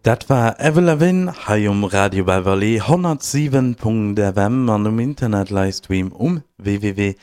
Dat war Avril Lavigne hei um Radio Beverly 107.fm an um Internet Livestream um www.rbv.lu.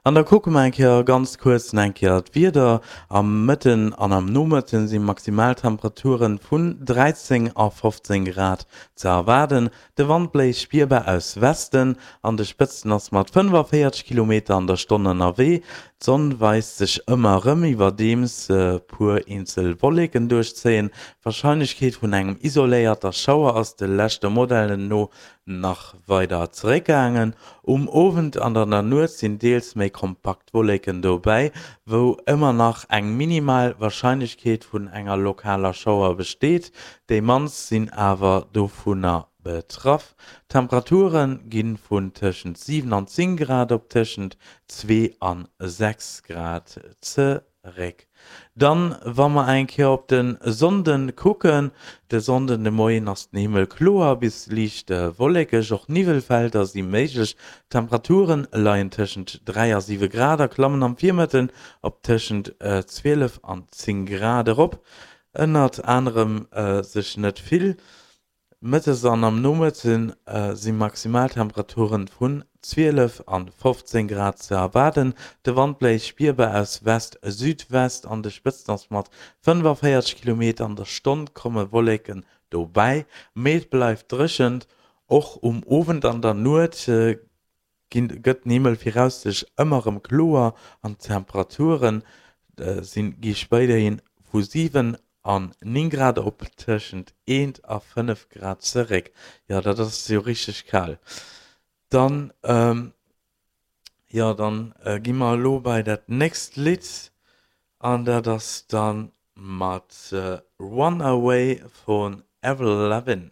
An da kucke mer eng Kéier ganz kuerz nach eng Kéier d'Wieder. Am Mëtten an am Nomëtten si Maximaltemperaturen vun 13 a 15 Grad ze erwaarden. De Wand bléist spierbar aus Westen, an de Spëtzten ass mat 45 Kilometer an der Stonn ënnerwee. D'Sonn weist sech ëmmer erëm, iwwerdeems puer eenzel Wolleken duerchzéien. D'Warscheinlechkeet vun engem isoléierter Schauer ass de leschte Modellen no nach weider zeréckgaangen. Um Owend an an der Nuet sinn deels méi kompakt Wolleken dobäi, wou ëmmer nach eng minimal Warscheinlechkeet vun enger lokaler Schauer besteet. Déi mannst sinn awer dovunner betraff. D'Temperature gi vun tëschent 7 an 10 Grad op tëschent 2 an 6 Grad zeréck. Dann, wa mer eng Kéier op de Sonnden kucken, De Sonnden de Moien ass den Himmel kloer bis liicht wollekeg, och Niwwelfelder si méiglech. D'Temperature leien tëschent 3 a 7 Grad a klammen am Virmëtten op tëschent 12 an 10 Grad erop. Ënnert anerem sech net vill. Mëttes an am Nomëtte si Maximaltemperaturen vun 12 an 15 Grad ze erwaarden. De Wand bléist spierbar aus West-Südwest, an de Spëtzten ass mat 45 Kilometer an der Stonn komme Wolleken dobäi, mee et bleift dréchent. Och um Owend an der Nuet ginn gëtt den Himmel viraussichtlech ëmmer erëm kloer an d'Temperature sinn gi spéiderhi vu 7 an 9 Grad op tëschent 1 a 5 Grad zeréck. Jo, dat ass jo richteg kal. Dann, jo, dann gi mer elo bei dat nächst Lidd an dat ass dann mat Runaway vun Avril Lavigne.